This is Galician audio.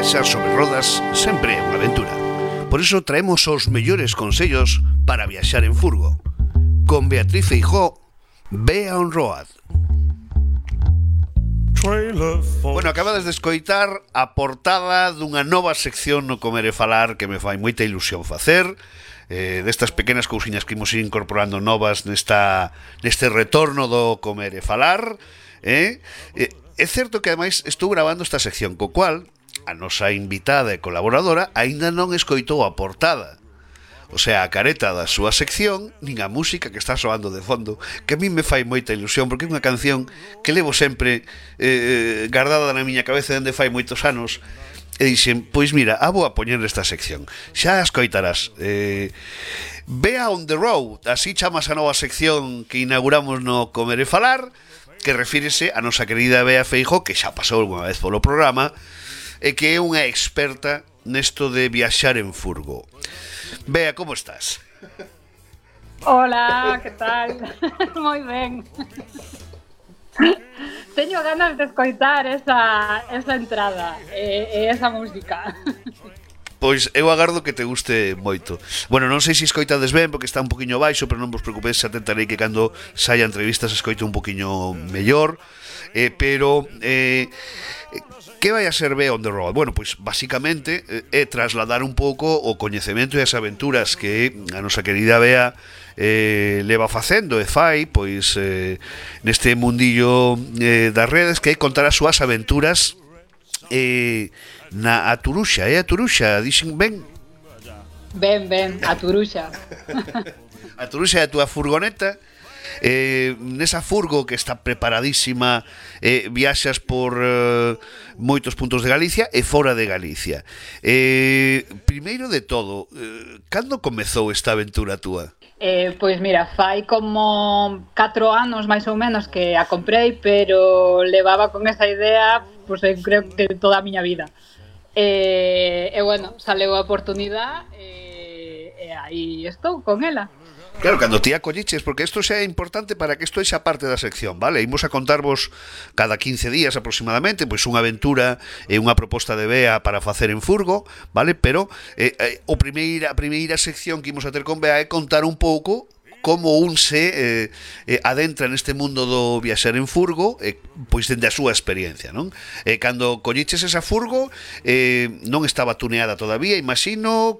viaxar sobre rodas sempre é unha aventura. Por iso traemos os mellores consellos para viaxar en furgo. Con Beatriz Feijó, Bea on Road. Bueno, acabades de escoitar a portada dunha nova sección no Comer e Falar que me fai moita ilusión facer, destas pequenas cousiñas que imos ir incorporando novas neste retorno do Comer e Falar. É certo que ademais estou gravando esta sección, co cual a nosa invitada e colaboradora aínda non escoitou a portada, o sea, a careta da súa sección, nin a música que está soando de fondo, que a mí me fai moita ilusión, porque é unha canción que levo sempre guardada na miña cabeza dende fai moitos anos, e dixen, pois mira, a vou a poñer nesta sección, xa a escoitarás. Bea on the Road, así chamas a nova sección que inauguramos no Comer e Falar, que refírese a nosa querida Bea Feijó, que xa pasou unha vez polo programa, e que é unha experta nesto de viaxar en furgo. Bea, como estás? Hola, que tal? Moi ben. Teño ganas de escoitar esa entrada e esa música. Pois eu agardo que te guste moito. Bueno, non sei se escoitades ben porque está un poquinho baixo, pero non vos preocupedes, se atentarei que cando saia entrevistas escoite un poquinho mellor. Pero que vai a ser Bea on the Road? Bueno, pois basicamente é trasladar un pouco o coñecemento e as aventuras que a nosa querida Bea leva facendo e fai, pois neste mundillo das redes, que é contar as súas aventuras na Aturuxa, a Turuxa, dixen ben? Ben, a Turuxa. A Turuxa é a túa furgoneta. Nesa furgo que está preparadísima, viaxas por moitos puntos de Galicia e fora de Galicia. Primeiro de todo, cando comezou esta aventura túa? Pois mira, fai como 4 anos máis ou menos que a comprei, pero levaba con esa idea, pois eu creo que toda a miña vida. E bueno, saleu a oportunidade e aí estou con ela. Claro, cando ti a colliches, porque isto xa é importante para que isto eixa parte da sección, vale? Imos a contarvos cada 15 días aproximadamente, pois unha aventura e unha proposta de Bea para facer en furgo, vale? Pero a primeira sección que imos a ter con Bea é contar un pouco como un se adentra neste mundo do viaxar en furgo, pois dende a súa experiencia, non? Cando colliches esa furgo non estaba tuneada todavía, imagino.